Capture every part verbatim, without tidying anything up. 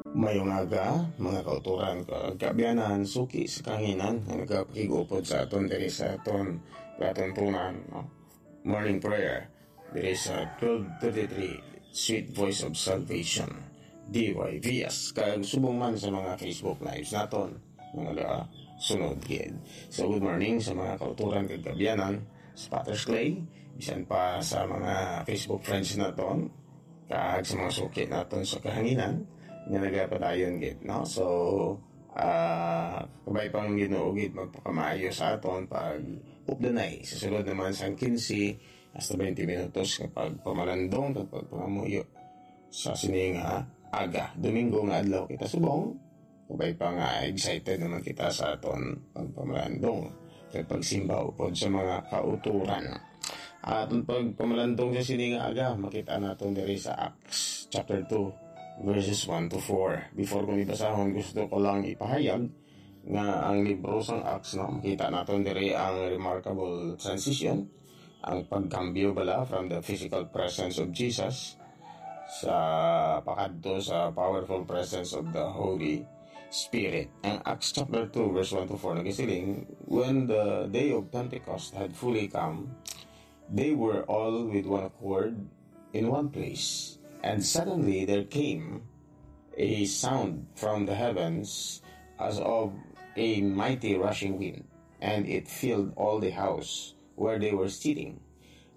Mayong aga, mga kauturan, kag kaabyanan, suki sa kahanginan nga nagapakig-upod sa aton diri sa aton palatuntunan, no? Morning prayer diri sa twelve thirty-three Sweet Voice of Salvation, D Y V S, kag subong man sa mga Facebook Lives naton, mga ga-, sunod gid. So, good morning sa mga kauturan kag kaabyanan sa Potter's Clay, bisan pa sa mga Facebook friends naton, kag sa mga suki naton sa kahanginan nga nagapadayon gid, no? So, ah, kabay pa ang Ginoo gid magpakamaayo sa aton pag updanay sa sulod naman sang quince hasta twenty minutos nga pagpamalandong kag pagpangamuyo sa sini nga aga, Domingo nga adlaw kita subong. Kabay pa nga excited naman kita sa aton pagpamalandong kag pagsimba upod sa mga kauturan. Aton pagpamalandong sa sini nga aga, makita naton diri sa Acts chapter two, verses one to four. Before ko ni basahon, gusto ko lang ipahayag nga ang libro sang Acts, no, makita naton diri ang remarkable transition, ang pagkambyo bala from the physical presence of Jesus sa pakadto sa powerful presence of the Holy Spirit. Ang Acts chapter two, verse one to four nagasiling, "When the day of Pentecost had fully come, they were all with one accord in one place. And suddenly there came a sound from the heavens as of a mighty rushing wind, and it filled all the house where they were sitting.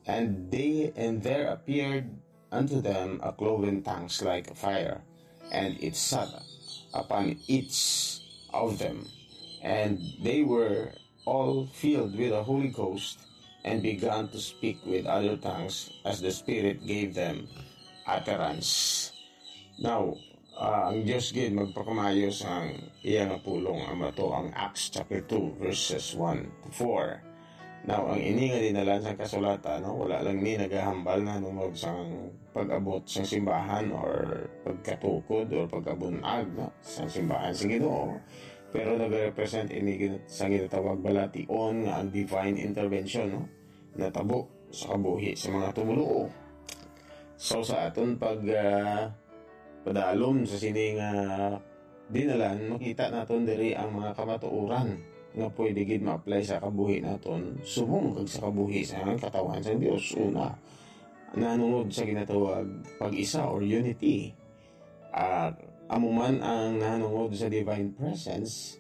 And they, and there appeared unto them a cloven tongues like a fire, and it sat upon each of them. And they were all filled with the Holy Ghost, and began to speak with other tongues as the Spirit gave them utterance." Now, ah, ang Dios gid magpakamaayo sang iya nga pulong, amo to ang Acts chapter two, verses one to four. Now, ang ini nga dinalan sang kasulatan, no, wala lang ni nagahambal nahanungod sang pag-abot sang simbahan or pagkatukod or pag-abunag, no, sang simbahan sa Ginoo, pero nagarepresent ini gin-, sa ginatawag balation nga ang divine intervention, no, natabo sa kabuhi sa mga tumoluo. So, sa aton pag, ah, padalom sa sini nga dinalan, makita naton diri ang mga kamatuoran nga pwede gid ma-apply sa kabuhi naton subong kag sa kabuhi sa katawhan sang Dios. Una, nahanungod sa ginatawag pag-isa or unity. Ah, amo man ang nahanungod sa divine presence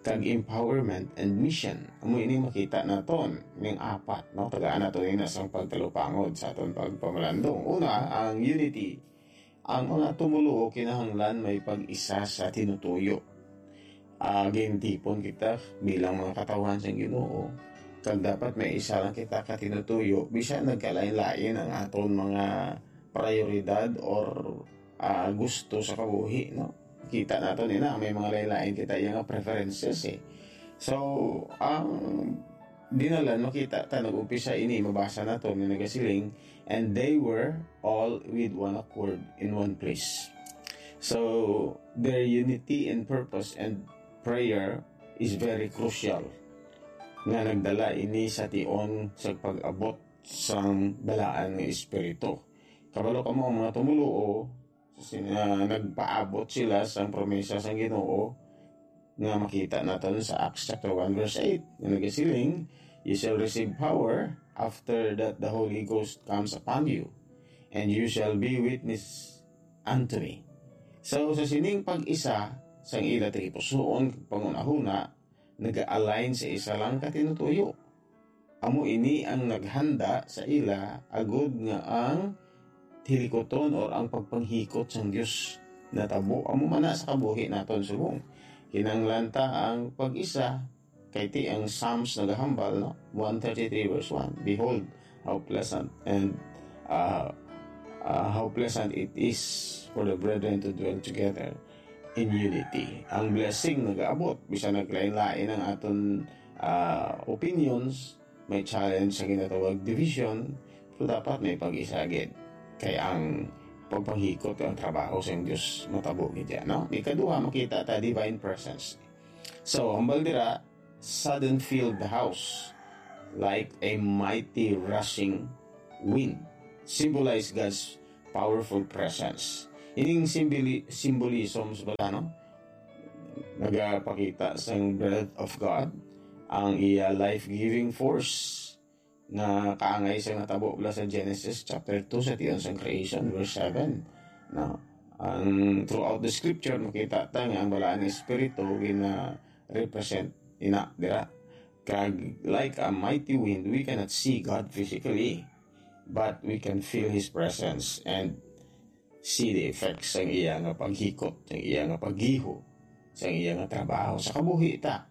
kag empowerment and mission. Amo ini makita naton ning apat, no? Tagaan nato ina sang pagtalupangod sa aton pagpamalandong. Una, ang unity. Ang mga tumoluo kinahanglan may pag-isa sa tinutuyo. Ah, gintipon kita bilang mga katawhan sang Ginoo, kag dapat may isa lang kita ka tinutuyo, bisan nagkalain-lain ang aton mga prioridad or, ah, gusto sa kabuhi, no? Kita naton ina, may mga lain-lain kita iya nga preferences, eh. So, ang dinalan, makita ta, nag-umpisa ini, mabasa naton nga nagasiling, "And they were all with one accord in one place." So, their unity in purpose and prayer is very crucial, nga nagdala ini sa tion sa pag-abot sang balaan nga Espiritu. Kabalo kamo, ang mga tumoluo, sa sin-, ah, nagpaabot sila sang promesa sang Ginoo, nga makita naton sa Acts chapter one, verse eight, nga nagasiling, "You shall receive power after that the Holy Ghost comes upon you, and you shall be witness unto me." So, sa sining pag-isa sang ila tagipusoon kag panghunahuna, naga-align sa isa lang ka tinutuyo. Amo ini ang naghanda sa ila agud nga ang hilikuton or ang pagpanghikot sang Dios natabo. Amo man na sa kabuhi naton subong. Kinahanglan ta ang pag-isa, kay ti ang Psalms nagahambal, no? One thirty-three verse one, "Behold, how pleasant and, uh, uh, how pleasant it is for the brethren to dwell together in unity." Ang blessing nagaabot, bisan naglain-lain ang aton, ah, opinions, may challenge sa ginatawag division, pero dapat may pag-isa gid. Kay ang pagpanghikot ang trabaho sa Dios matabo gid yan, no? Ikaduha, makita ta divine presence. So, hambal dira, "Sudden filled the house like a mighty rushing wind," symbolize God's powerful presence. Ining simboli-, symbolism sa bala, no? Nagapakita sang breath of God, ang iya life-giving force nga kaangay sa natabo bala sa Genesis chapter two, sa tion sang creation, verse seven, no? Ang, throughout the scripture, makita ta nga ang balaan nga espiritu gina-represent ina dira. Kag like a mighty wind, we cannot see God physically, but we can feel His presence and see the effects sang iya nga paghikot, sang iya nga paggiho, sang iya nga trabaho sa kabuhi ta,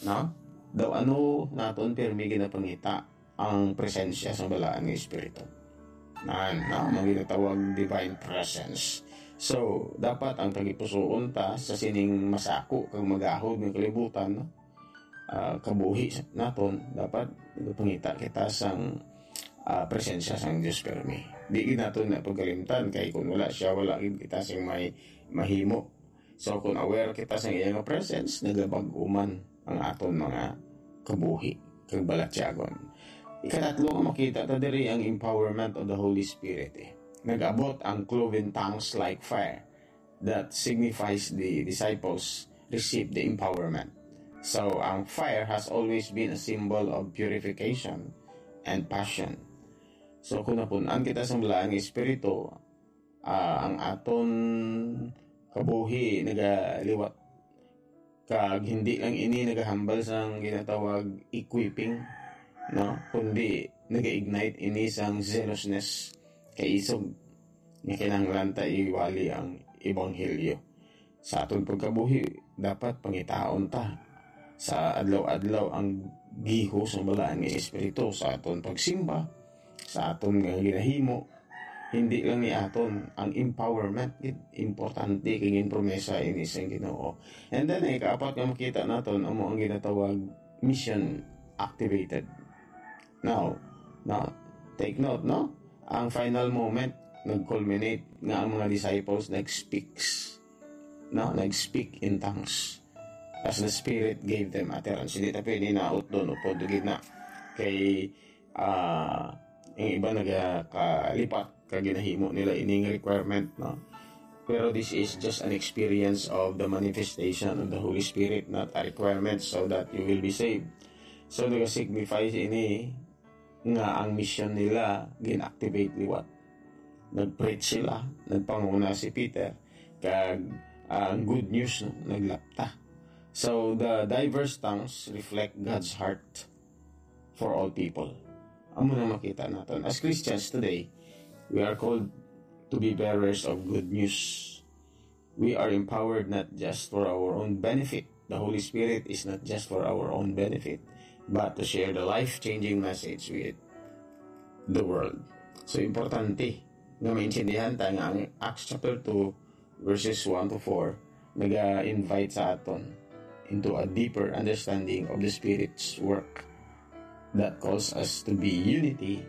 no? Daw ano naton pirmi ginapangita ang presensya sang balaan nga espiritu. Nan, no? Ang ginatawag divine presence. So, dapat ang tagipusoon ta sa sining masako kag magahod nga kalibutan, no? Ah, kabuhi sa-, naton, dapat pangita kita sang, ah, presensya sang Dios pirmi. Di gid naton na pagkalimtan, kay kung wala siya, wala gid kita sing may mahimo. So, kung aware kita sang iya nga presence, nagabag-o man ang aton mga kabuhi kag balatyagon. Ikatatlo nga makita ta diri ang empowerment of the Holy Spirit, eh. Nag-abot ang cloven tongues like fire that signifies the disciples received the empowerment. So, ang fire has always been a symbol of purification and passion. So, kung napun-an kita sang balaan nga espiritu, ah, ang aton kabuhi nagaliwat. Kag hindi lang ini nagahambal sang ginatawag equipping, no? Kundi naga-ignite ini sang zealousness, kaisog nga kinahanglan ta iwali ang ebanghelyo. Sa aton pagkabuhi, dapat pangitaon ta sa adlaw-adlaw ang giho sang balaan nga espiritu sa aton pagsimba, sa aton nga ginahimo. Hindi lang ni aton ang empowerment, gid, importante kay ginpromesa ini sang Ginoo. And then, ang ikaapat nga makita naton amo ang ginatawag mission activated. Now, now, take note, no? Ang final moment, nag-culminate nga ang mga disciples nag-speaks, no? Nag-speak in tongues as the Spirit gave them utterance. Hindi ta pwede na utdon upod gid na. Kay, ah, ang iba nagakalipat kag ginahimo nila ining requirement, no? Pero this is just an experience of the manifestation of the Holy Spirit, not a requirement so that you will be saved. So, nag-signify ini nga ang mission nila gin-activate liwat. Nag-preach sila, nagpanguna si Peter, kag, ah, ang good news, no, naglapta. So, the diverse tongues reflect God's heart for all people. Amo na makita naton. As Christians today, we are called to be bearers of good news. We are empowered not just for our own benefit. The Holy Spirit is not just for our own benefit, but to share the life-changing message with the world. So, importante nga maintindihan ta nga ang Acts chapter two, verses one to four, naga-invite sa aton into a deeper understanding of the Spirit's work that calls us to be unity,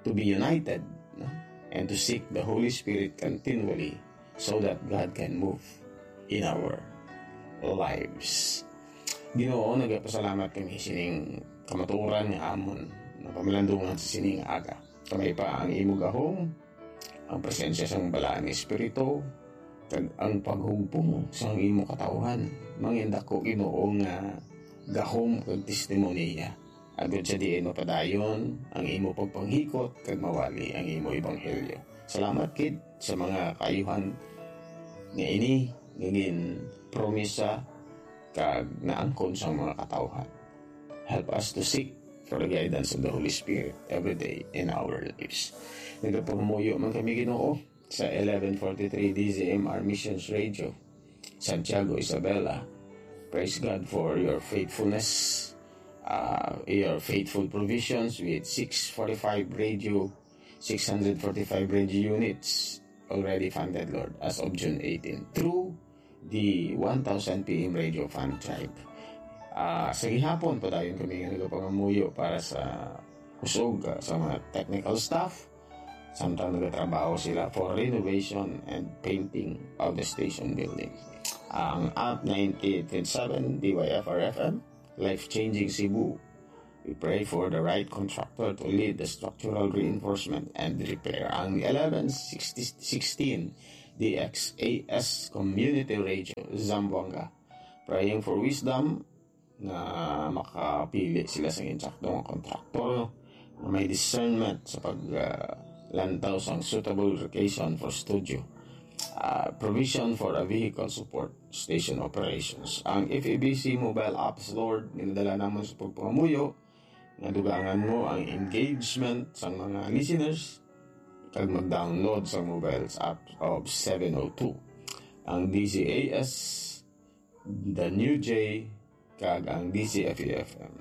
to be united, no? And to seek the Holy Spirit continually so that God can move in our lives. Ginoo, nagapasalamat kami sining kamatuoran nga amon napamalandungan sa sining aga. Kamay pa ang imo gahom, ang presensya sang Balaan nga Espiritu, kag ang paghugpong sang imo katawhan. Mangindako, Ginoo, nga gahom kag testimonya, agod sa diin mapadayon ang imo pagpanghikot kag mawali ang imo ebanghelyo. Salamat gid sa mga kaayuhan nga ini nga ginpromisa kag naangkon sang mga katawhan. Help us to seek for the guidance of the Holy Spirit every day in our lives. Nagapamuyo man kami, Ginoo, sa eleven forty-three D Z M R Missions Radio, Santiago, Isabela. Praise God for your faithfulness, uh, your faithful provisions with six forty-five radio, six hundred forty-five radio units already funded, Lord, as of June eighteen, through the one thousand P M Radio Fund Drive. Ah, sa gihapon, padayon kami nga nagapangamuyo para sa kusog, ah, sa mga technical staff, samtang nagatrabaho sila for renovation and painting of the station building. Ang App ninety-eight point seven D Y F R F M, Life Changing Cebu. We pray for the right contractor to lead the structural reinforcement and repair. Ang eleven sixty, sixteen D X A S Community Radio, Zamboanga. Praying for wisdom nga makapili sila sa insakto nga kontraktor nga may discernment sa pag, ah, lantaw sang suitable location for studio. Ah, provision for a vehicle support station operations. Ang F E B C mobile apps, Lord, ginadala namon sa pagpangamuyo nga dugangan mo ang engagement sang mga listeners kag mag-download sa mobile app of seven oh two, ang D Z A S, the New J, kag ang D Z F E F M.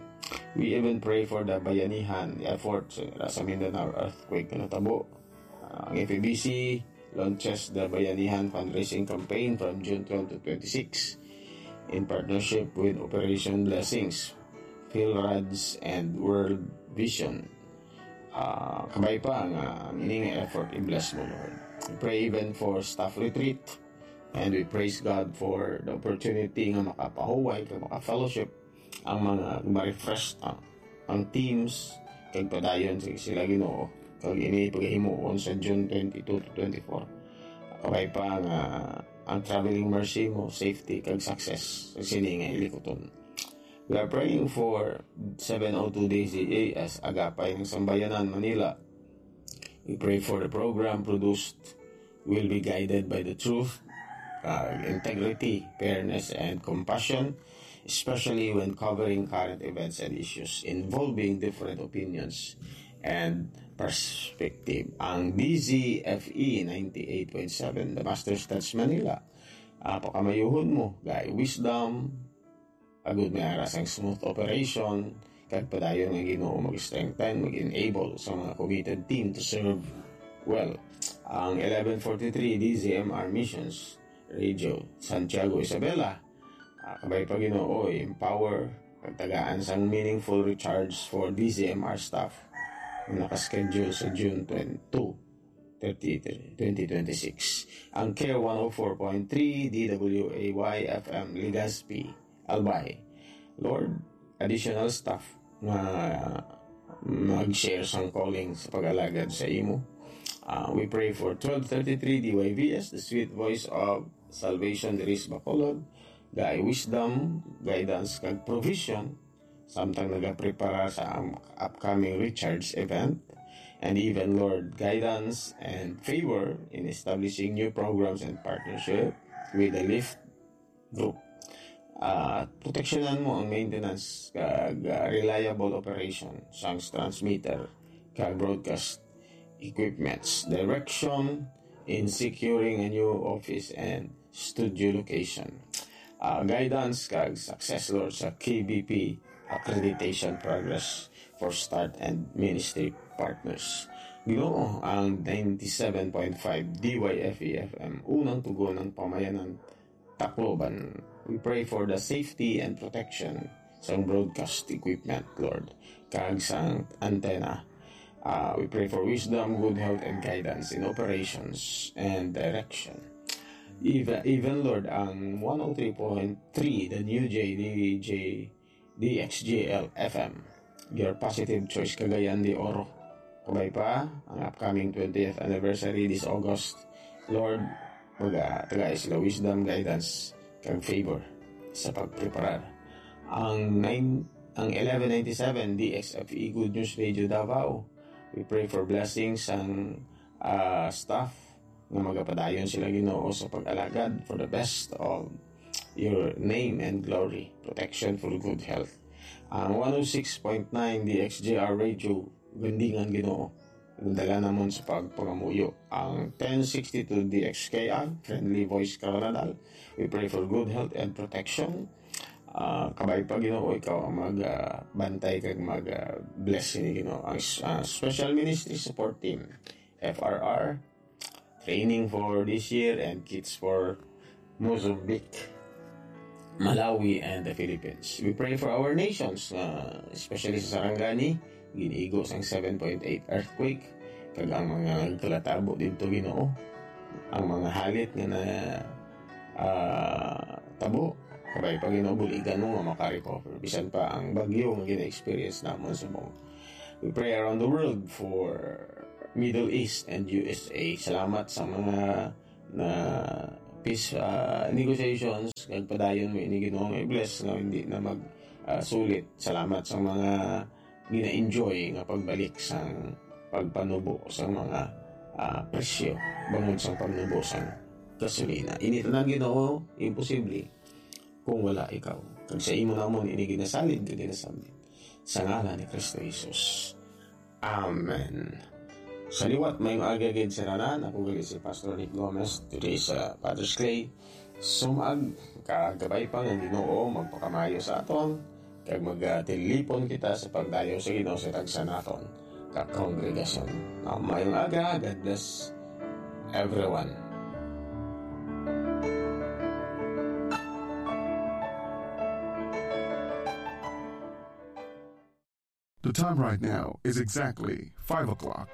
We even pray for the bayanihan effort sa, sa Mindanao earthquake nga natabo. Ang F E B C launches the Bayanihan Fundraising Campaign from June twelve to twenty-six in partnership with Operation Blessings, PhilRads, and World Vision. Ah, kabay pa nga ang ini nga effort i-bless mo, Lord. We pray even for staff retreat, and we praise God for the opportunity nga makapahuway kag maka-fellowship ang mga ma-refresh ang, ang teams kag padayon sa sila, Ginoo, kag ini pagahimuon sa June twenty-two to twenty-four. Kabay pa nga ang traveling mercy mo, safety kag success sa sini nga hilikuton. We are praying for seven oh two D Z A S Agapay ng Sambayanan, Manila. We pray for the program produced will be guided by the truth, uh, integrity, fairness, and compassion, especially when covering current events and issues involving different opinions and perspective. Ang D Z F E ninety-eight point seven, The Master's Touch Manila, ah, pakamayuhon mo, gay wisdom, agud may ara sang smooth operation, kag padayon nga Ginoo mag-strengthen, mag-enable sa mga committed team to serve well. Ang eleven forty-three D Z M R Missions Radio, Santiago, Isabela, ah, kabay pa, Ginoo, empower kag tagaan sang meaningful recharge for D Z M R staff nga nakaschedule sa June twenty-two, thirty, twenty twenty-six. Ang Care one oh four point three D W A Y F M Legazpi, Albay. Lord, additional staff nga mag-share sang calling sa pag-alagad sa imo. Ah, we pray for twelve thirty-three D Y V S, the sweet voice of salvation, diri sa Bacolod, gay wisdom, guidance, kag provision, samtang nagaprepara sa am-, upcoming recharge event, and even, Lord, guidance and favor in establishing new programs and partnership with the Lift Group. Ah, proteksyonan mo ang maintenance kag, ah, reliable operation sang transmitter kag broadcast equipments. Direction in securing a new office and studio location. Ah, guidance kag success, Lord, sa K B P accreditation progress for staff and ministry partners. Ginoo, ang ninety-seven point five D Y F E F M, unang tugon ng pamayanan, Tacloban. We pray for the safety and protection sang broadcast equipment, Lord, kag sang antenna. Ah, we pray for wisdom, good health, and guidance in operations and direction. Even, even, Lord, ang one oh three point three, the New J D J D X J L F M, your positive choice, Cagayan de Oro. Kabay pa ang upcoming twentieth anniversary this August. Lord, magatagai sila wisdom, guidance, kag favor sa pagpreparar. Ang nine, ang eleven ninety-seven D X F E Good News Radio Davao, we pray for blessings sang, ah, staff nga magapadayon sila, Ginoo, sa pag-alagad for the best of your name and glory, protection for good health. Ang one oh six point nine D X J R Radio, Gandingan, Ginoo, dala namon sa pagpangamuyo. Ang ten sixty-two D X K R, Friendly Voice Karanadal, we pray for good health and protection. Ah, kabay pa, Ginoo, ikaw ang mag, ah, bantay kag mag, ah, bless ini, Ginoo. Ang, ah, Special Ministry Support Team, F R R, training for this year and kits for Mozambique, Malawi, and the Philippines. We pray for our nations, uh, especially sa Sarangani, giniigo sang seven point eight earthquake, kag ang mga nagkalatabo didto, Ginoo, ang mga halit nga na, ah, tabo, kabay pa, Ginoo, buligan mo nga maka-recover. Bisan pa ang bagyo nga gina-experience namon subong. We pray around the world for Middle East and U S A. Salamat sa mga na peace, ah, negotiations, kag padayon mo ini, Ginoo, nga i-bless nga hindi na mag, ah, sulit. Salamat sa mga gina-enjoy nga pagbalik sang pagpanubo sa mga, ah, presyo bangod sa pagnubo sang gasolina. Ini tanan, Ginoo, imposible kung wala ikaw. Kag sa imo namon ini ginasalig kag ginasambit sa ngalan ni Kristo Jesus. Amen. Sa liwat, mayong aga gid sa tanan. Ako gali si Pastor Nick Gomez, today sa Father's Clay. Sumag, kagabay pa nga Ginoo magpakamayo sa aton, kag magatilipon kita sa pagdayaw sa Ginoo sa tagsa naton ka kongregasyon. Mayong aga, God bless everyone. The time right now is exactly five o'clock.